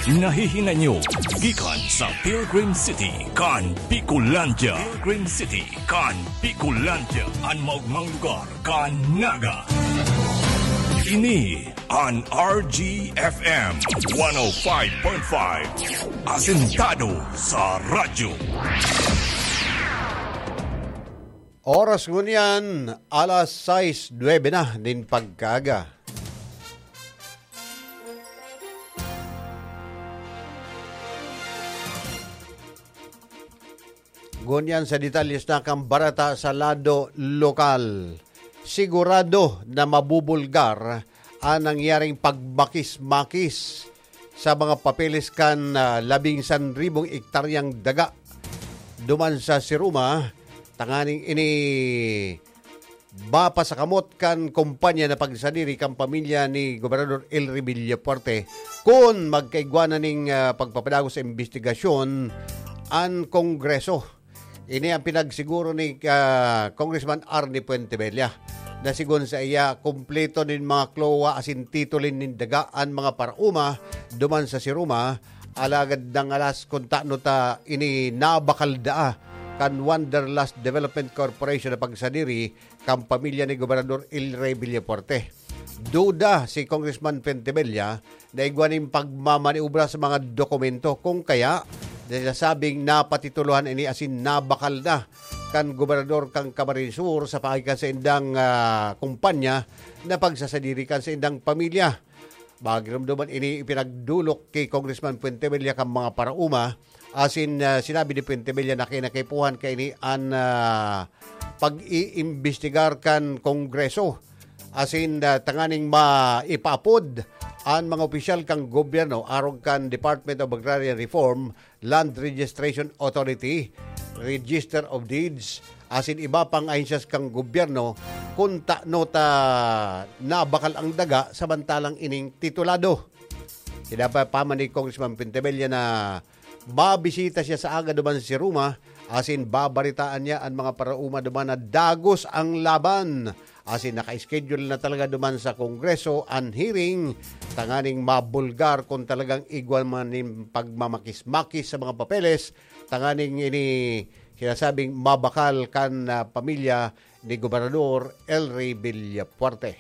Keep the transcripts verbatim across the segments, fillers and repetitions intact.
Nahihinay nyo gikan sa Pilgrim City kan Bicolandia. Pilgrim City kan Bicolandia, an maogmang lugar kan Naga. Ini an R G F M one oh five point five, asentado sa radyo. Oras ngunyan, alas sais nuebe na nin pagkaaga. Ngunyan sa detalles na kan bareta sa lado lokal. Sigurado na mabubulgar an nangyaring pagmakis-makis sa mga papeles kan, ah, labing san ribong ektaryang daga duman sa Siruma, tanganing ini mapasakamot kan kompanya na pagsadiri kan pamilya ni Gobernador Elry Villafuerte kun magkaigwa na ning, ah, pagpapadagos sa imbestigasyon an Kongreso. Ini ang pinagsiguro ni, ah, Congressman Arnie Fuentebella, na sigon sa iya, kumpleto nin mga klowa asin titulo nin daga an mga paraoma duman sa Siruma, alagad nangalas kun tano ta ini nabakal daa kan Wanderlust Development Corporation na pagsadiri kan pamilya ni Gobernador Elry Villafuerte. Duda si Congressman Fuentebella na igwa nin pagmamaniobra sa mga dokumento, kung kaya, sinasabing napatitulohan ini asin nabakal na kan gobernador kan Camarines Sur sa paagi kan saindang, ah, kumpanya na pagsasadiri kan saindang pamilya. Magiromdoman ini ipinagdolok ki Congressman Fuentebella kan mga paraoma, asin, ah, sinabi ni Fuentebella na kinakipuhan kaini an, ah, pag-iimbestigar kan Kongreso, asin, ah, tanganing maipaapod an mga opisyal kan gobyerno arog kan Department of Agrarian Reform, Land Registration Authority, Register of Deeds, asin iba pang ahensyas kan gobyerno, kun tano ta nabakal ang daga samantalang ining titulado. Sinabi pa man ni Congressman Fuentebella na mabisita siya sa aga duman sa Siruma, asin babaritaan niya an mga paraoma duman na dagos ang laban, asin naka-schedule na talaga duman sa Kongreso an hearing tanganing mabulgar kung talagang igwa man nin pagmamakis-makis sa mga papeles, tanganing ini sinasabing mabakal kan, ah, pamilya ni Gobernador Elry Villafuerte.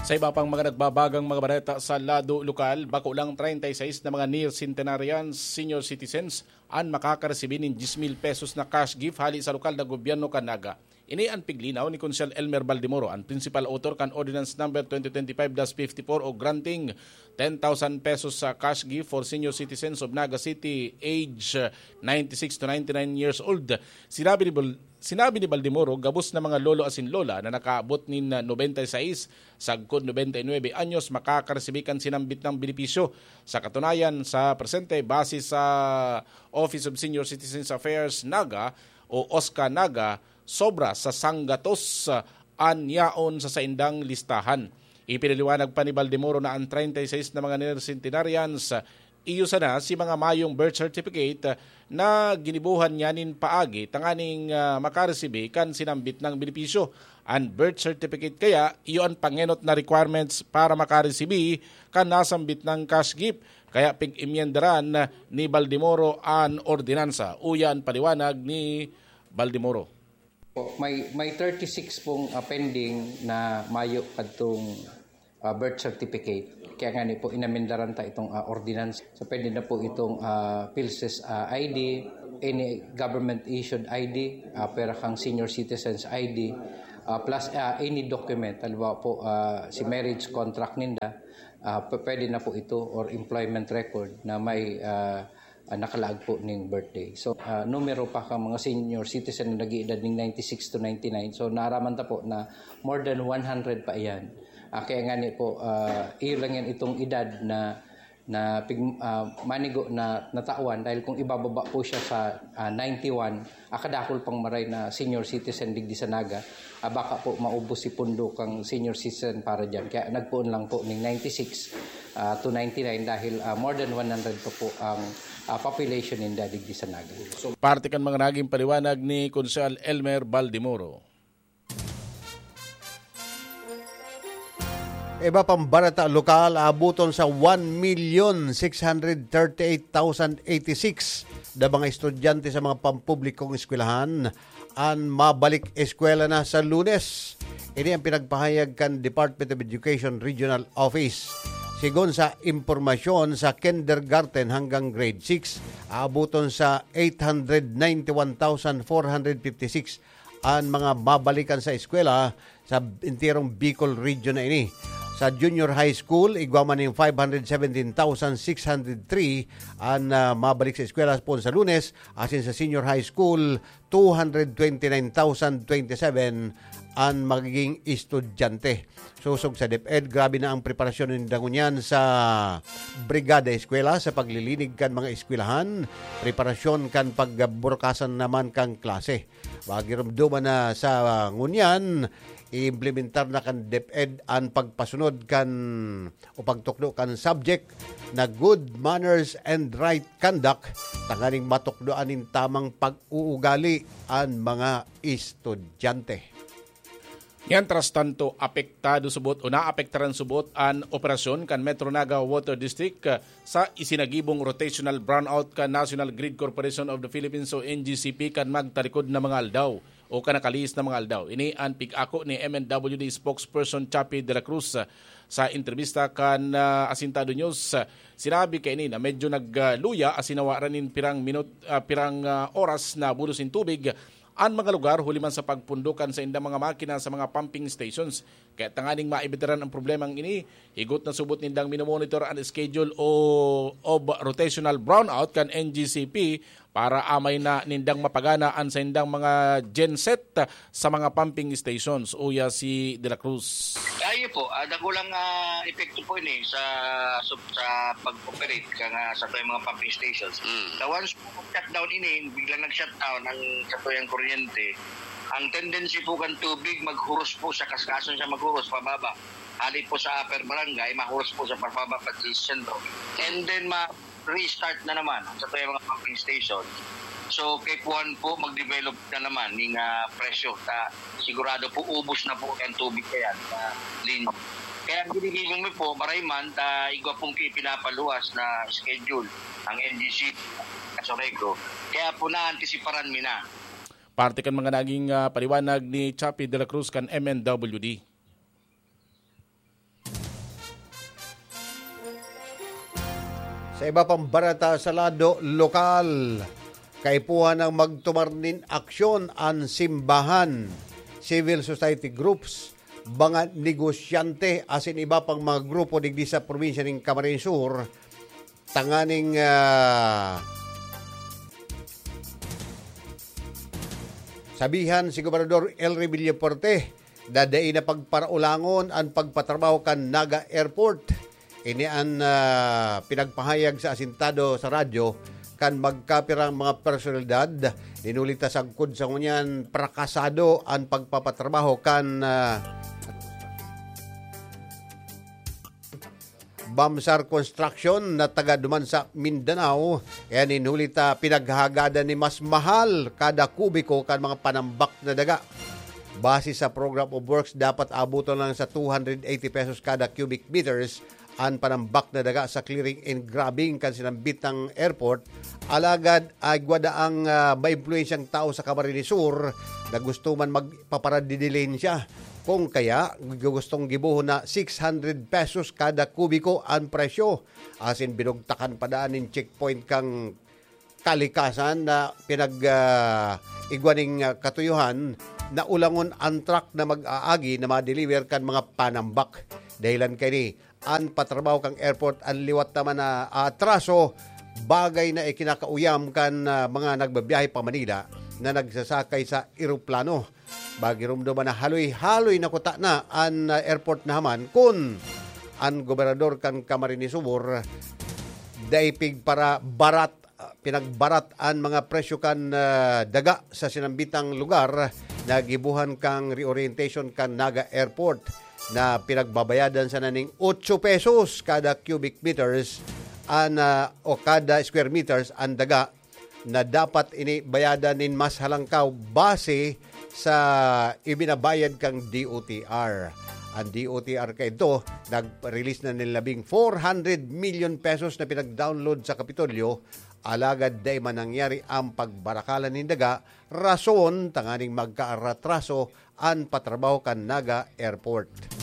Sa iba pang mga nagbabagang mga bareta sa lado lokal, bako lang treinta y seis na mga near centenarians, senior citizens, an makakaresibi nin diyes mil pesos na cash gift hali sa lokal na gobyerno kan Naga. Ini an piglinaw ni Konsehal Elmer Baldemoro, an principal author kan Ordinance Number twenty twenty-five dash fifty-four o granting ten thousand pesos sa cash gift for senior citizens of Naga City, age, uh, ninety-six to ninety-nine years old. Sinabi ni Bal-, sinabi ni Baldemoro, gabos na mga lolo asin lola na nakaabot nin, uh, nobenta y seis sagkod nobenta y nuebe anyos makakaresibi kan sinambit na benepisyo. Sa katunayan, sa presente, base sa Office of Senior Citizens Affairs, Naga, o OSCA Naga, sobra sa sanggatos, ah, an yaon sa saindang listahan. Ipinaliwanag pa ni Baldemoro na an treinta y seis na mga near centenarians, ah, iyo sana si mga mayong birth certificate, ah, na ginibohan niya nin paagi tanganing, ah, makaresibi kan sinambit na benepisyo. An birth certificate kaya, iyo an pangenot na requirements para makaresibi kan nasambit na cash gift. Kaya pig-imyendaran ni Baldemoro an ordinansa. Uya an paliwanag ni Baldemoro. Po, may, may thirty-six pong, ah, pending na mayo kadtong, ah, birth certificate. Kaya nga ni po, inamendaran ta itong, ah, ordinance. So, pwede na po itong, ah, PhilSys, ah, I D, any government-issued I D, ah, pwera kang senior citizens I D, ah, plus, ah, any document. Halimbawa po, ah, si marriage contract ninda, ah, p-, pwede na po ito, or employment record na may, ah, ah, nakalaag po ning birthday. So, ah, numero pa kang mga senior citizen na nag-iedad ning ninety-six to ninety-nine. So, naaraman ta po na more than one hundred pa iyan. Ah, kaya nga ni po, ah, iyo lang yan itong edad na, na pig-, ah, manigo na natawan, dahil kung ibababa po siya sa, ah, ninety-one, ah, kadakul pang maray na senior citizen digdi sa Naga, ah, baka po maubos si pundo kang senior citizen para dyan. Kaya nagpoon lang po ning ninety-six, ah, to ninety-nine dahil, ah, more than one hundred pa po ang, ah, population ninda digdi sa Naga. Parte kan mga naging paliwanag ni Konsehal Elmer Baldemoro. Iba pang barata lokal, aabuton sa one million six hundred thirty eight thousand eighty six na mga estudyante sa mga pampublikong eskwelahan an mabalik eskwela na sa Lunes. Ini ang pinagpahayag kan Department of Education Regional Office. Sigon sa impormasyon, sa kindergarten hanggang grade six, aabuton sa eight hundred ninety one thousand four hundred fifty six an mga mabalikan sa eskwela sa enterong Bicol Region na ini. Sa junior high school, igwa man nin five hundred seventeen thousand six hundred three an, ah, mabalik sa eskwela poon sa Lunes, asin sa senior high school, two hundred twenty nine thousand twenty seven an magiging estudyante. Sosog sa DepEd, grabe na ang preparasyon ninda ngunyan sa Brigada Eskwela sa paglilinig kan mga eskwelahan, preparasyon kan pagburukasan naman kan klase. Magirumduman na sa ngunyan, iimplementar na kan DepEd an pagpasunod kan o pagtukdo kan subject na good manners and right conduct, tanganing matukdoan nin tamang pag-uugali an mga estudyante. Mientras tanto, apektado subot o naapektaran subot an operasyon kan Metro Naga Water District, ah, sa isinagibong rotational brownout kan National Grid Corporation of the Philippines o N G C P kan magtalikod na mga aldaw o kan nakalihis na mga aldaw. Ini an pig-ako ni M N W D spokesperson Chappie de la Cruz, ah, sa entrebista kan, ah, Asintado News. Ah, sinabi kaini na medyo nagluya asin nawaran nin pirang minut-, ah, pirang, ah, oras na bulos nin tubig an mga lugar huli man sa pagpundukan sa indang mga makina sa mga pumping stations. Kaya tanganing maibitaran ang problemang ini, higot na subot nindang minomonitor an schedule o, of rotational brownout kan N G C P para amay na nindang mapagana an saindang mga genset sa mga pumping stations, uya si De La Cruz. Ayo po, ah, dakulang, ah, epekto po ini sa, sa, sa pag-operate kan, ah, satuyang mga pumping stations. Mm. Sa once shutdown ini, biglang nag-shutdown ang satuyang kuryente, ang tendency po kan tubig maghuros po sa kaskason siya maghuros pababa. Hali po sa upper barangay, mahuros po sa pababa pati sa sentro. And then ma-restart na naman ang satuyang mga pumping station. So, kaipuhan po mag-develop na naman ning, ah, presyo. Ta, sigurado po ubos na po ang tubig kaya sa linya. Kaya ang ginigibo mi po, maray man, ta igwa pong pi-, pinapaluwas na schedule ang N G C, Caso Negro. Kaya po naantisiparan mi na. Parte kan mga naging, ah, paliwanag ni Chappie de la Cruz kan M N W D. Sa iba pang barata sa lado lokal, kaipuhan ang magtumar nin aksyon an simbahan, civil society groups, mga negosyante asin iba pang mga grupo digdi sa probinsya nin Camarines Sur, tanganing, ah, sabihan si Gobernador Elry Villafuerte na dai na pagparaulangon an pagpatrabaho kan Naga Airport. Ini an, ah, pinagpahayag sa asintado sa radyo kan magkapirang mga personalidad. Dinulita sagkod sa ngunyan, prakasado an pagpapatrabaho kan, ah, Bamsar Construction na taga duman sa Mindanao. Kaya ninhuli ta pinaghagadan ni mas mahal kada kubiko kan mga panambak na daga. Base sa Program of Works, dapat abuton lang sa two hundred eighty pesos kada cubic meters an panambak na daga sa clearing and grubbing kan sinambitang airport. Alagad agwa daang, ah, maimpluwensyang tao sa Camarines Sur na gusto man magpaparadidilensya. Kung kaya, gustong gibohon na six hundred pesos kada kubiko an presyo. Asin binugtakan pa daan nin checkpoint kan kalikasan na pinag, ah, igwa ning, ah, katuyuhan na ulangon an truck na mag-aagi na ma-deliver kan mga panambak. Dahilan kaini, an patrabaho kan airport an liwat naman na atraso, bagay na ikinakauyam kan, ah, mga nagbabiyahe pa Manila na nagsasakay sa eroplano. Magirumdom na haloy-haloy na kuta na an, ah, airport na haman kun an gobernador kan Camarines Sur dai pigpara-, barat, ah, pinagbarat an mga presyo kan, ah, daga sa sinambitang lugar na gibohon kan reorientation kan Naga Airport na pinagbabayadan sana ning otso pesos kada cubic meters an, ah, o kada square meters an daga na dapat ini bayadan nin mas halangkaw base sa ibinabayad kan D O T R. Ang D O T R kaidto, nag-release na nin labing four hundred million pesos na pinag-download sa Kapitolyo, alagad dai man nangyari ang pagbarakalan nin daga, rason tanganing magkaratraso an patrabaho kan Naga Airport.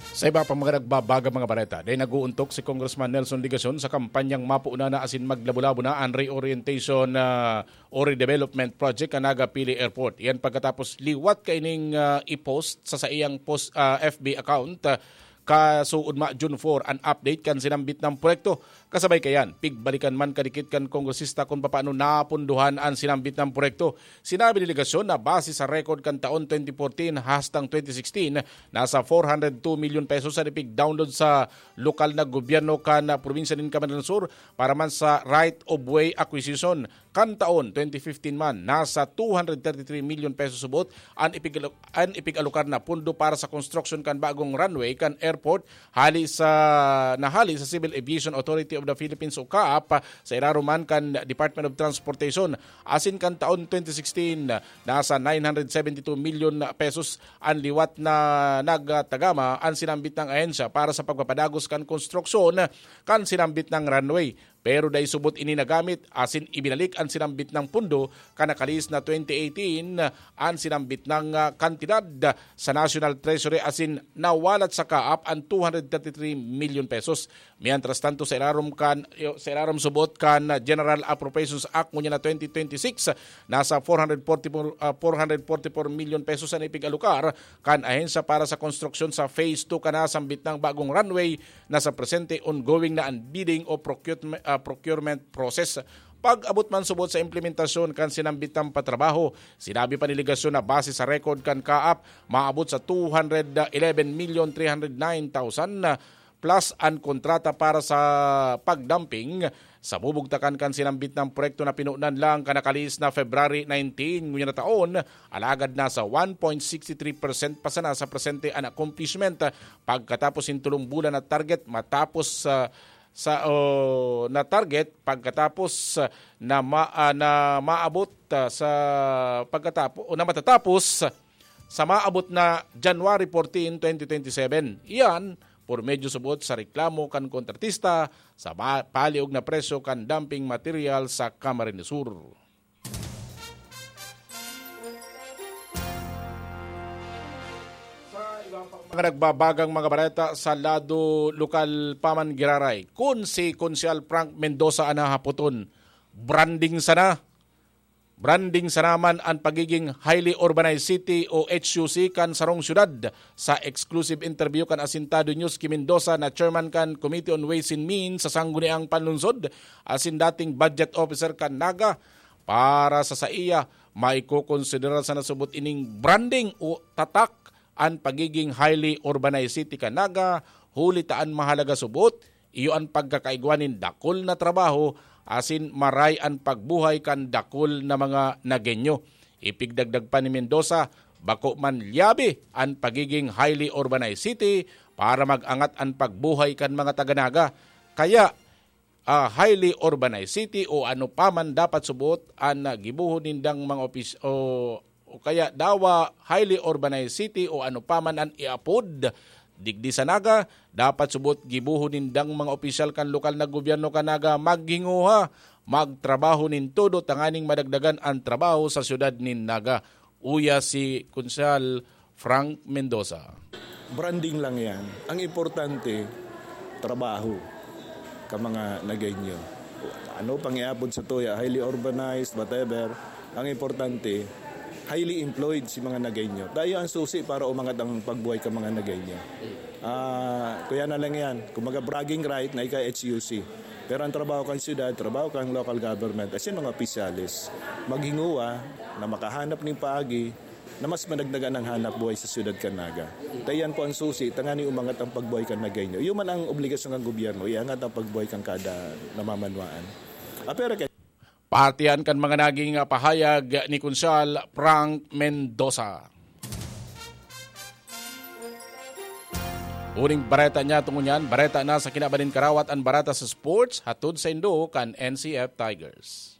Sa iba pang mga nagbabagang mga bareta, dai nag-uuntok si Congressman Nelson Legacion sa kampanyang mapuuna na asin maglabo-labo na an reorientation, ah, o redevelopment project kan Naga Pili Airport. Iyan pagkatapos liwat kaining, ah, i-post sa saiyang post, ah, F B account, ah, kasuodma June four an update kan sinambit na proyekto. Kasabay kayan, pigbalikan man kadikit kan kongresista kun papaano napunduhan an sinambit na proyekto. Sinabi ni Legacion na base sa record kan taon twenty fourteen hastang twenty sixteen, nasa four hundred two million pesos an ipig-download sa lokal na gobyerno kan, ah, probinsya nin Camarines Sur para man sa right of way acquisition. Kan taon twenty fifteen man, nasa two hundred thirty-three million pesos subot an ipig-, an ipig-alokar na pondo para sa konstruksyon kan bagong runway kan airport hali sa, na hali sa Civil Aviation Authority of the Philippines o CAAP, sa irarom man kan Department of Transportation. Asin kan taon twenty sixteen, nasa nine hundred seventy-two million pesos an liwat na nagtagama an sinambit na ahensya para sa pagpapadagos kan konstruksyon kan sinambit na runway. Pero dai subot ini nagamit, asin ibinalik an sinambit na pondo kan nakalihis na twenty eighteen an sinambit na, ah, kantidad sa National Treasury, asin nawalat sa CAAP an two hundred thirty-three million pesos. Mientras tanto, sa irarom kan, sa irarom subot kan General Appropriations Act ngunyan na twenty twenty-six, nasa four hundred forty-four, ah, four hundred forty-four million pesos an ipig-alokar kan ahensya para sa konstruksyon sa Phase two kan nasambit na bagong runway. Na sa presente, ongoing na an bidding o procurement, ah, procurement process. Pag-abot man subot sa implementasyon kan sinambit na patrabaho, sinabi pa ni Legacion na base sa record kan CAAP, maabot sa two hundred eleven million three hundred nine thousand plus an kontrata para sa pagdamping sa bubugtakan kan sinambit na proyekto na pinunan lang kan nakalihis na February nineteen ngunyan na taon, alagad nasa one point six three percent pa sana sa presente an accomplishment. Pagkatapos nin tolong bulan na target matapos, ah, sa, o na target, pagkatapos, ah, na ma-, ah, na maabot, ah, sa pagkatapo-, o na matatapos sa maabot na January fourteen, twenty twenty-seven. Iyan, por medyo subot sa reklamo kan kontratista sa ma-, paliog na presyo kan dumping material sa Camarines Sur. Sa iba pang mga nagbabagang mga bareta sa lado lokal pa man giraray, kun si Konsehal Frank Mendoza an hahapoton, branding sana. Branding sana man an pagiging highly urbanized city o H U C kan sarong syudad. Sa exclusive interview kan Asintado News ki Mendoza na chairman kan Committee on Ways and Means sa Sangguniang Panlungsod asin dating budget officer kan Naga, para sa saiya, maikokonsiderar sana subot ining branding o tatak an pagiging highly urbanized city kan Naga, huli ta an mahalaga subot, iyo an pagkakaigwa nin dakul na trabaho asin maray an pagbuhay kan dakul na mga Nagueño. Ipigdagdag pa ni Mendoza, bako man lyabe an pagiging highly urbanized city para mag-angat an pagbuhay kan mga taga Naga. Kaya, ah, highly urbanized city o ano pa man dapat subot an, ah, gibohon nindang mga opis-, o, o kaya dawa highly urbanized city o ano pa man an iapod digdi sa Naga, dapat subot gibohon nindang mga opisyal kan lokal na gobyerno kan Naga maghinguha, magtrabaho nin todo tanganing madagdagan an trabaho sa syudad nin Naga. Uya si Konsehal Frank Mendoza. Branding lang yan. Ang importante, trabaho ka mga Nagueño. Ano pang iapod sa tuya, highly urbanized, whatever. Ang importante, highly employed si mga Nagueño. Tayo ang susi para umangat ang pagbuhay ka mga Nagueño. Ah, kuya na lang yan. Kumaga bragging right na ika H U C. Pero ang trabaho kan siyudad, trabaho kan local government, as in mga opisyales, maghinguwa na makahanap ning paagi na mas madagdagan ang hanap buhay sa siyudad kan Naga. Kaya yan po ang susi, tanganing umangat ang pagbuhay kan Nagueño. Iyo man ang obligasyon kan gobyerno, iangat ang pagbuhay kan kada namamanwaan. Ah, pero kay Partihan kan mga naging pahayag ni Konsehal Frank Mendoza. Huling bareta niya tungod niyan, bareta na sa kinaban nin karawat an bareta sa sports, hatod sa indo kan N C F Tigers.